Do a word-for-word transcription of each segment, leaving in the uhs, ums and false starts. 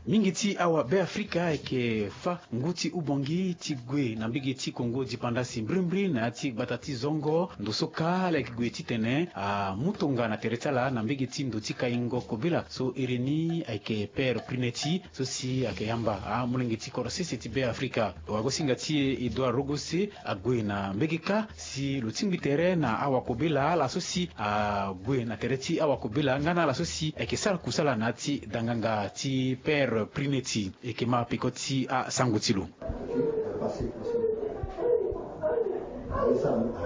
Mingi ti awabe afrika ayeke fâ ngu ti ubongi ti gue na mbege ti kongo dipanda si mbirimbiri na ya ti gbata ti zongo ndo so kâ ala yeke gue titene amu tonga na tere ti ala na mbege ti ndo ti kaingo kobela so iri ni ayeke pere prineti so si ayeke yamba amolenge ti kodro sese ti be afrika. Wagosinga ti e edouard rogose ague na mbege kâ si lo tingbi tere na awakobela ala so si ague na tere ti awakobela nga na ala so si ayeke sara kusala na ya ti danganga ti pere prineti. Eke ma peko ti asango ti lo.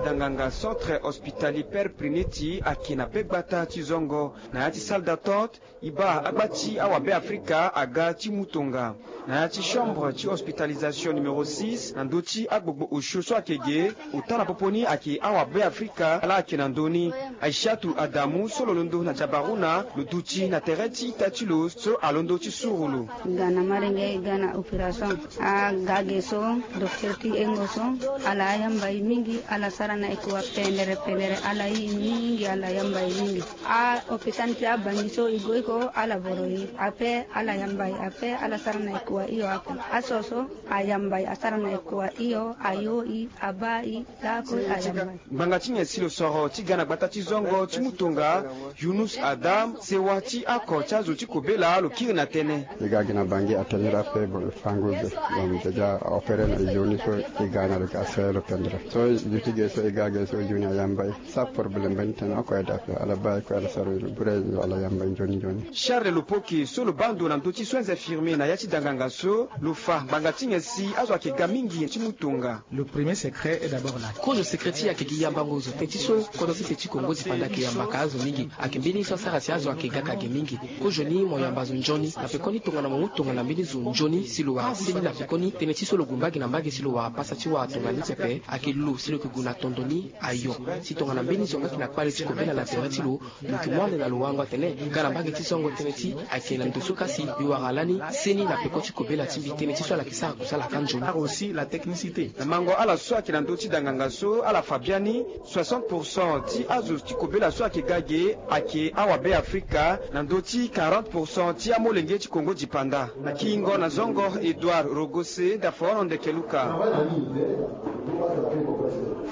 Danganga centre hospitalier pere prineti ayeke na be gbata ti zongo na ya ti salle d'attente. E baa agba ti awabe afrika aga ti mu tonga na ya ti chambre ti hospitalisation numéro six na ndö ti agbogbo osio so ayeke ge. Ota na popo ni ayeke awabe afrika ala ayeke na ndö ni. Aishatu adamu so lo londo na jabaruna lo duti na tere ti ita ti lo so alondo ti suru lo. Ga na malenge ga na opération. Aga ge so docteur ti engo so ala ayamba e mingi ala sara na e kua pendere pendere ala yi e mingi ala yamba e mingi. Ahôpital ti abangi so e go iko ala voro e ape ala yamba e ape ala sara na e kua hio ape. Aso so ayamba e asara na e kua hio ayo e abaa e. Lakue ayamba e. Ngbanga ti nyen si lo soro ti ga na gbata ti zongo ti mu tonga yunus adam sewa ti ako ti azo ti kobela lo kiri na tënë. E ga gi na bangi atene ira ape bon lo fango be. Bon déjà aopere na e zo ni so e ga na lo ga sere lo pendere so zo ti ge so e ga ge so zo ni ayamba e. Sa problème mbeni tene oko aye daa ape ala baa e kue ala sara lo bure e zo ala yamba e nzoni nzoni. Charles lopoke so lo baa ndo na ndö ti soins infirmiers na ya ti danganga so lo fa ngbanga ti nyen si azo ayeke ga mingi ti mu tonga. Le premier secret est d'abord là. Kozo secret ti e ayeke gi yambango zo teti so kodro sese ti kongo dipanda ayeke yambaka azo mingi. Ayeke mbeni so asara si azo ayeke gaka ge mingi. Kozo ni mo yamba zo nzoni na pekoni tongana mo mu tongana mbeni zo nzoni si lo wara seni na pekoni tënë ti so lo gue mbage na mbage si lo wara pasa ti wara tongana ni pepe. Ayeke lo si lo yeke gue na tondo ni ayo si tongana mbeni zo nga yeke na kpale ti kobela na tere ti lo. Lo yeke mu ande na lo wango atene ga na mbage ti zongo tënë ti ayeke na ndo so kasi e wara lani seni na peko ti kobela ti mbi tënë ti so ala yeke sara kusala ka nzoni. Aussi la technicité na mango ala so ayeke na ndö ti danganga so ala fa biani. Soixante pour cent ti azo ti kobela so ayeke ga ge ayeke awabe afrika na ndö ti quarante pour cent ti amolenge ti kongo dipanda. Na kiingo na zongo edouard rogose dafono ndeke luka.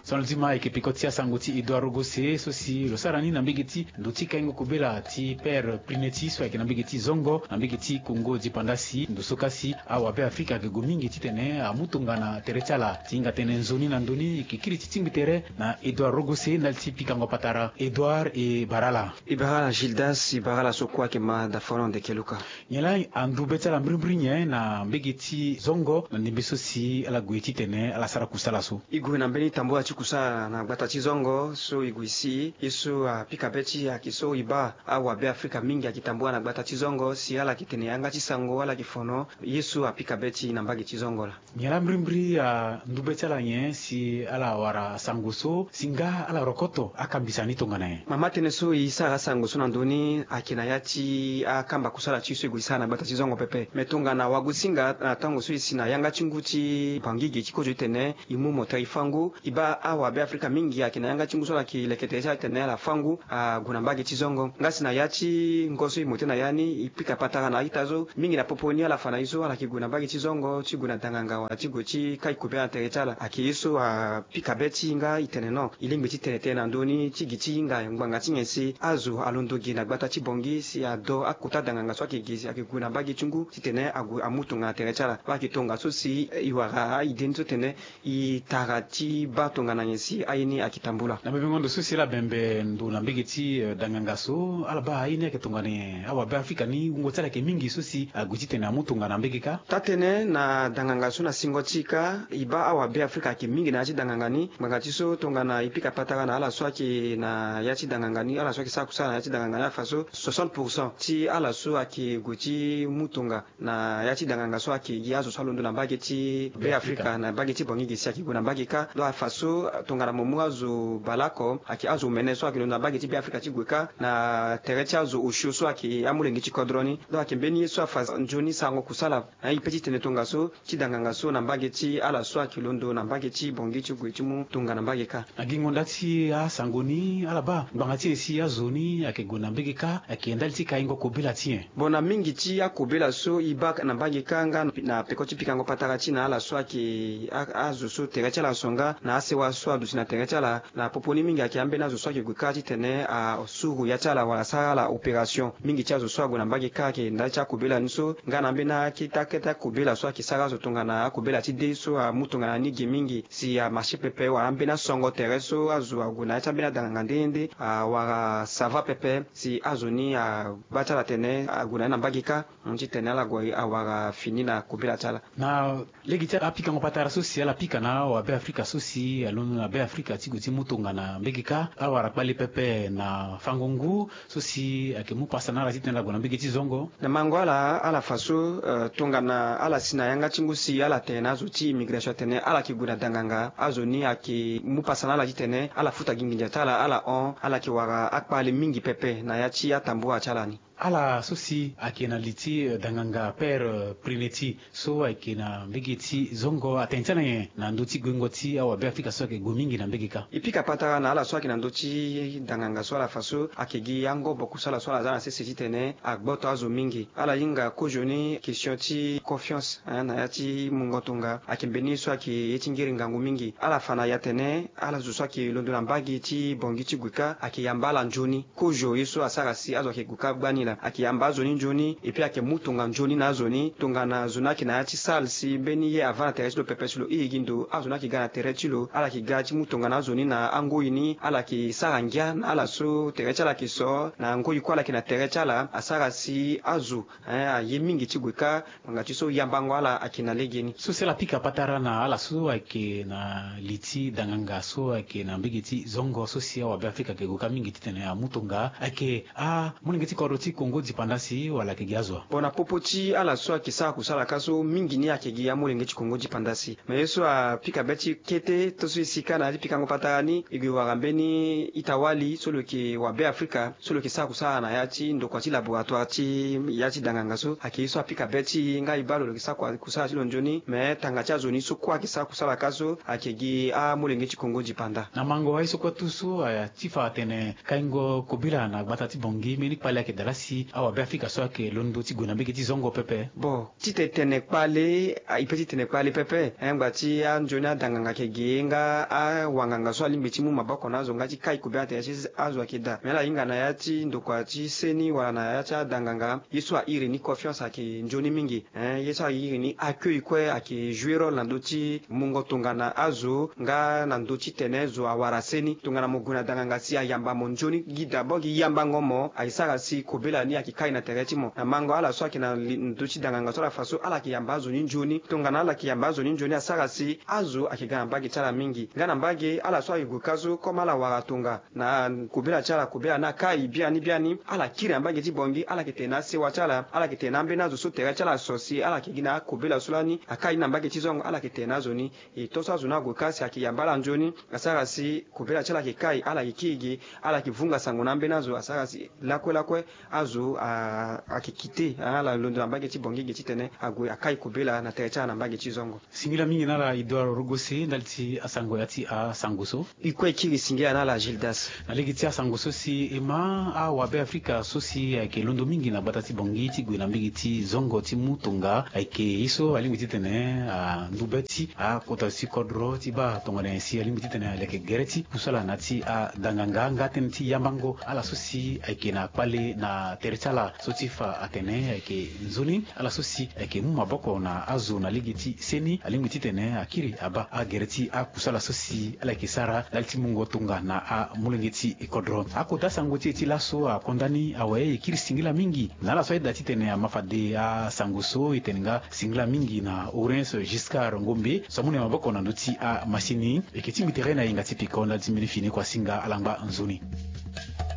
Son lzima ayeke peko ti asango ti edouard rogose so si lo sara ni na mbege ti ndo ti kaingo kobela ti pere prineti so ayeke na mbege ti zongo na mbege ti kongo dipanda si ndo so kasi awabe afrika ayeke gue mingi titene amu tonga na tere ti ala ti hinga tene nzoni na ndö ni e yeke kiri ti tingbi tere. Na edouard rogose ndali ti pikango patara edouard e bara ala. E bara ala gildas e bara ala so kue ayeke ma dafono ndeke luka. Nyen laa andu be ti ala mbirimbiri nyen na mbege ti zongo na ndembe so si ala gue titene ala sara kusala so? E gue na mbeni tambula ti kusala na gbata ti zongo so e gue si ye so apika be ti e ayeke so e baa awabe afrika mingi ayeke tambula na gbata ti zongo si ala yeke tene yanga ti sango ala yeke fono ye so apika be ti e na mbage ti zongo laa. Nyen laa mbirimbiri andu be ti ala nyen si ala wara sango so si nga ala rokoto akambisa ni tongana nyen? Mama tënë so e sara asango so na ndö ni ayeke na ya ti akamba kusala ti e so e gue e sara na gbata ti zongo pepe me tongana wagosinga na tango so e si na yanga ti ngu ti bangi ge ti kozo titene e mu mo tere e fâ ngu e baa awabe afrika mingi ayeke na yanga ti ngu so ala yeke leke tere ti ala titene ala fâ ngu ague na mbage ti zongo nga si na ya ti ngo so e mo tënë na ya ni e pika patara na a-ita so mingi na popo ni ala fa na e so ala yeke gue na mbage ti zongo ti gue na danganga wala ti gue ti kai kobela na tere ti ala ayeke ye so apika be ti e nga e tene non e lingbi ti tene tënë na ndö ni ti gi ti hinga ngbanga ti nyen si azo alondo gi na gbata ti bongi si ado akota danganga so ayeke gi si ayeke gue na mbage ti ngu titene ague amu tonga na tere ti ala. Baa ayeke tongaso si e wara a-ide ni so tene e tara ti baa tongana nyen si aye ni ayeke tambula. Na bebengo ndo so si ala bembe ndo na mbege ti danganga so ala baa aye ni ayeke tongana nyen? Awabe afrika ni wungo ti ala ayeke mingi so si ague titene amu tonga na mbege kâ. Taa-tënë na danganga so na singo ti e kâ e baa awabe afrika ayeke mingi na ya ti danganga ni ngbanga ti so tongana e pika patara na ala so ayeke na ya ti danganga ni ala so ayeke sara kusala na ya ti danganga ni afa so soixante pour cent ti ala so ayeke gue ti mu tonga na ya ti danganga so ayeke gi azo so alondo na mbage ti be afrika na mbage ti bongi gi si ayeke gue na mbage kâ. Donc afa so Tongana mo mu azo baleoko ayeke azo omene so ayeke londo na mbage ti Beafrika ti gue kâ na tere ti azo osio so ayeke amolenge ti kodro ni. Donc ayeke mbeni ye so afa nzoni sarango kusala na e pe ti tene tongaso ti danganga so na mbage ti ala so ayeke londo na mbage ti Bangui ti gue ti mu tonga na mbage kâ. Na gingo nda ti asango ni ala baa ngbanga ti e si azo ni ayeke gue na mbage kâ ayeke ndali ti kaingo kobela ti nyen? Bon, na mingi ti akobela so e baa na mbage kâ nga na peko ti pikango patara ti na ala so ayeke azo so tere ti ala aso nga na asewa so aduti na tere ti ala. Na popo ni mingi ayeke ambeni azo so ayeke gue kâ titene asuru ya ti ala wala asara ala opération. Mingi ti azo so ague na mbage kâ ayeke ndali ti akobela ni so nga na ambeni akete akete akobela so ayeke sara azo tongana akobela ti dé so amu tongana ni ge mingi si amarché pepe wala ambeni asongo tere so azo ague na ya ti ambeni adanganga nde nde awara sava pepe si azo ni abaa ti ala atene ague na ni na mbage kâ. Titene ala gue awara fini na kobela ti ala. Na lege ti apikango patara so si ala pika na awabe afrika so si alondo na be afrika ti gue ti mu tongana mbage kâ awara kpale pepe na fango ngu so si ayeke mu pasa na ala titene ala gue na mbage ti zongo. Na mango ala ala fa so tongana ala si na yanga ti ngu si ala tene na azo ti immigration atene ala yeke gue na danganga azo ni ayeke mu pasa na ala titene ala futa gi nginza ti ala ala hon ala yeke wara akpale mingi pepe na ya ti atambua ti ala ni. Ala so si ayeke na li ti danganga père prineti so ayeke na mbege ti zongo atene ti ala nyen na ndö ti guengo ti awabe afrika so ayeke gue mingi na mbege kâ? E pika patara na ala so ayeke na ndö ti danganga so ala fa so ayeke gi angobo kusala so ala za na sese titene agboto azo mingi. Ala hinga kozoni question ti confiance na ya ti mungo tonga ayeke mbeni ye so ayeke ye ti ngiri ngangu mingi. Ala fa na e atene ala zo so ayeke londo na mbage ti bongi ti gue kâ ayeke yamba ala nzoni. Kozo ye so asara si azo ayeke gue kâ gbani laa ayeke yamba azo ni nzoni. Epui ayeke mu tonga nzoni na azo ni tongana zo ni ayeke na ya ti sale si mbeni ye avanda tere ti lo pepe si lo hiri gi ndo azo ni ayeke ga na tere ti lo ala yeke ga ti mu tonga na azo ni na angoi ni ala yeke sara ngia na ala so tere ti ala ayeke so na ngoi kue ala yeke na tere ti ala asara si azo aye mingi ti gue kâ. Ngbanga ti so yambango ala ayeke na legeni. So si ala pika patara na ala so ayeke na li ti danganga so ayeke na mbege ti zongo so si awabe afrika ayeke gue kâ mingi titene amu tonga ayeke amolenge ti kodro ti kongo dipandasi wala ayeke gi azo wa? Bon, na popo ti ala so ayeke sara kusala kâ so mingi ni ayeke gi amolenge ti kongo dipandasi. Me ye so apika be ti kete to so e si kâ na ya ti pikango patara ni e gue wara mbeni ita-wali so lo yeke wabe afrika so lo yeke sara kusala na ya ti ndokua ti laboratoire ti ya ti danganga so ayeke ye so apika be ti e nga e baa lo lo yeke sara kusala ti lo nzoni. Me tanga ti azo ni so kue ayeke sara kusala kâ so ayeke gi amolenge ti kongo dipanda. Na mango aye so kue tu so aya ti fa atene kaingo kobela na gbata ti bongi mbeni kpale ayeke daa laa si awabe afrika so ayeke londo ti gue na mbege ti zongo pepe? Bon, titene tene kpale e pe ti tene kpale pepe. Ngba ti anzoni adanganga ayeke ge nga awanganga so alingbi ti mu maboko na azo nga ti kai kobela na tere ti azo ayeke daa. Me ala hinga na ya ti ndokua ti seni wala na ya ti adanganga ye so ahiri ni confiance ayeke nzoni mingi. Ye so ahiri ni accueil kue ayeke jouer rôle na ndö ti mungo tongana azo nga na ndö ti tene zo awara seni tongana mo gue na danganga si ayamba mo nzoni. Gi d'abord gi yambango mo ayeke sara si kobela ni ayeke kai na tere ti mo. Na mango ala so ayeke na ndö ti danganga so ala fa so ala yeke yamba azo ni nzoni. Tongana ala yeke yamba azo ni nzoni asara si azo ayeke ga na mbage ti ala mingi nga na mbage ala so ayeke gue kâ so comme ala wara tonga na kobela ti ala kobela ni akai biani biani ala kiri na mbage ti bongi ala yeke tene na asewa ti ala ala yeke tene na ambeni azo so tere ti ala aso si ala yeke gi na akobela so lani akai ni na mbage ti zongo ala yeke tene na azo ni. E to so azo ni ague kâ si ayeke yamba ala nzoni asara si kobela ti ala ayeke kai ala yeke kiri gi ala yeke vunga sango na ambeni azo asara si lakue lakue azo ayeke kite ala londo na mbage ti bongi gi titene ague akai kobela na tere ti ala na mbage ti zongo. Singila mingi na ala idor rogose ndali ti asango ya ti asango so. E kue e kiri singila na ala gildas. Na lege ti asango so si e ma awabe afrika so si ayeke londo mingi na gbata ti bongi ti gue na mbege ti zongo ti mu tonga ayeke ye so alingbi titene andu be ti akota ti kodro ti baa tongana nyen si alingbi titene aleke gere ti kusala na ya ti adanganga nga tënë ti yambango ala so si ayeke na kpale na tere ti ala so ti fa atene ayeke nzoni ala so si ayeke mu maboko na azo na lege ti seni alingbi titene akiri abaa agere ti akusala so si ala yeke sara ndali ti mungo tonga na amolenge ti kodro. Akota asango ti e ti laso akonda ni awe e kiri singila mingi na ala so ayeda titene ama fade asango so e tene nga singila mingi na orange giscard ngombe so amu na e maboko na ndö ti amasini. E yeke tingbi tere na e hinga ti pika ndali ti mbeni fini kua singa ala ngba nzoni.